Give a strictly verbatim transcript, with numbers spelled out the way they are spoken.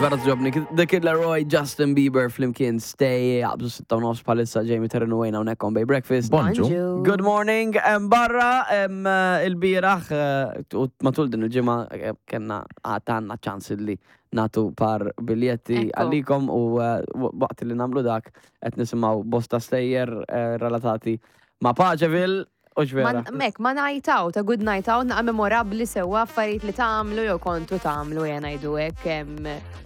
Vera togħġobni. The Kid Laroi, Justin Bieber, flimkien Stay, jaqbżu sitta u nofs bħalissa Jamie Terenu Wayne hawnhekk on Bay Breakfast. Bonġu. Good morning, em, barra em, eh, ilbieraħ eh, u matul din il-ġimgħa eh, kellna għandna ċans li nagħtu par biljetti Ekku. għalikom u eh, waqt li nagħmlu dak qed nisimgħu bosta stejjer eh, relatati ma' Paċeville u x'vera. Mek, ma night out, a good night out, naqa memorabli sewa affarijiet li tagħmlu jew kontu tagħmlu jena ngħidu hekk. em,